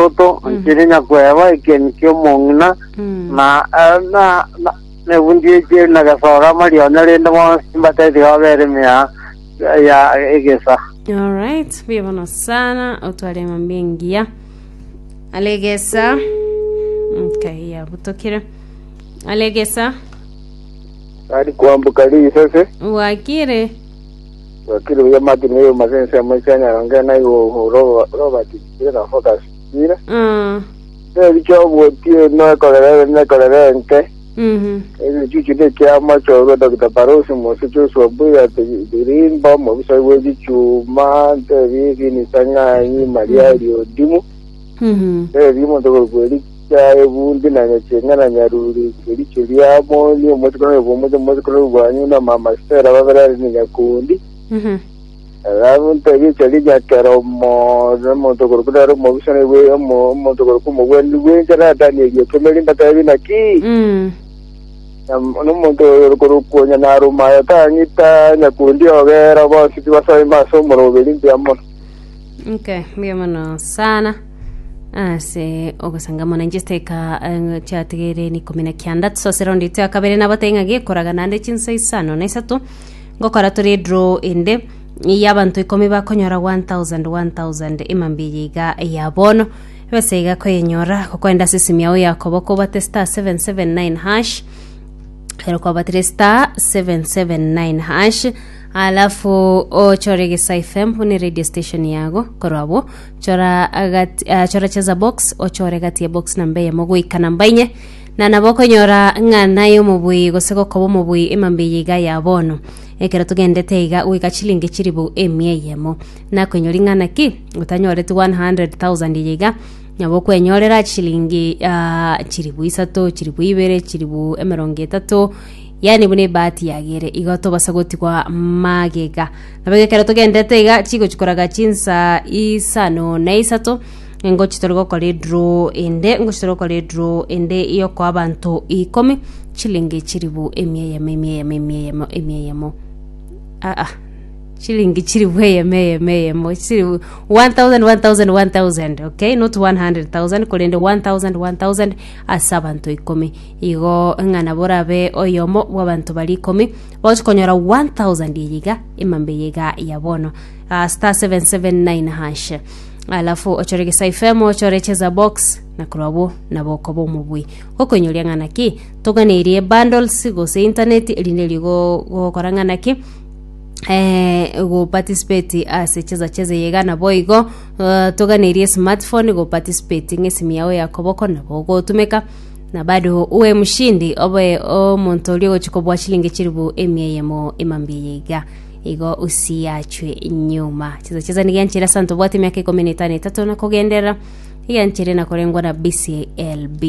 Toto, nchire nyakweba ekieni ki'omong'ina, na na na nebundi echieri na gesora amarionya, rende bonsi mbatebie tiga babere ime ya ya egesa. Alright, buya bono sana otware emambia engiya alegesa okay yabutokire alegesa Ari kwamboka risase wakire wakiri buya Martin oyo masense amocha nyaronge na igo Robert Kira focus kira Ericho obotie nekorere nekorere enke egechuchu nekia machorwa Dr. Barosi Mose Joshua Mbuya Tirimba omobisa bwe gichuma ntebi Vinisa Ng'anyi Maria Riodimu ntebi omonto okorokwa Ericha Ebundi na Nyachenga na Nyaruri Kericho Riamoni omochokoro oyo bw'omoche omochokoro bwanyu na Mama Stella babere are ne Nyakundi Alafu ntebi echaria nyakera omo omonto okorokwa nere omobisa naigwe omo omonto okorokwa omogwenia bw'enchera Danieli ekemeri mbatebi naki Nam- nomonto oyo okorokwa onye narumayo tang'ita nyakundi ogera bonsi tibasoima ase omoroberi mbuya mono. Okay, mbuya mono sana ase ogosanga mono inche chidakika eh, chiatigeire ni ikomi na kianda tusose raundi ito ya kabere nabatebie ng'a gekoraga naende chinsa isano na isato Ngokora tore edraw ende y'abanto ikomi bakonyora 1000 1000 emambia eye iga ya bono. Ebesa iga koyenyora gokoenda ase esimi yao ya koboko obate star 779 hash ero kwabatire star 779 hash alafu ochore Gesa FM buna radio station yago korwa abwo chora agati, ah, chora cheza box ochore gati ya box namba eyemo goika namba inye Na nabo okonyora ng'a naye omobui gose gokoba omobui emambia eye iga ya bono, ekero togendete iga goika chilingi chilifu emia eyemo. Nakoinyori ng'a naki otanyoreti 100,000 eye iga, nabo okwenyorera chilingi ah, chilifu isato, chilifu ibere, chilifu emerongo etato, yaani buna ebahati yagere igo tobasa gotigwa magega. Nabo igo ekero togendete iga chigochi koraga chinsa isano na isato, Ngochi tore gokora edraw ende, ngochi tore gokora edraw ende yokoa abanto ikomi chilingi chilifu emia eyemo emia eyemo emia eyemo emia eyemo aa chilingi chilifu eyemo eyemo eyemo chilifu 1000 1000 1000 okay not 100000 korende 1000 1000 ase abanto ikomi igo ng'a nabo orabe oyomo bwa abanto baria ikomi bagochi konyora 1000 eye iga emambia eye iga ya bono Ah, star 779 hash Alafu ochore Gesa FM, ochore Cheza Box, na korwa abwo nabo okoba omobui. Gokoinyoria ng'a naki, toganeirie bundles gose internet erinde erio go- gokora ng'a naki, eh, go participate ase cheza cheza eye iga nabo igo eh, toganeirie smartphone go participate ng'a esimi yao ya koboko nabo ogotumeka na bado uwe mshindi obe omonto oria ogochi kobua chilingi chilifu emia eyemo emambia eye iga. Igo usiachwe nyuma. Cheza cheza nigo enchera ase abanto babwate emiaka ikomi na etano etato na kogenderera, iga enchera na korengwa na BCLB.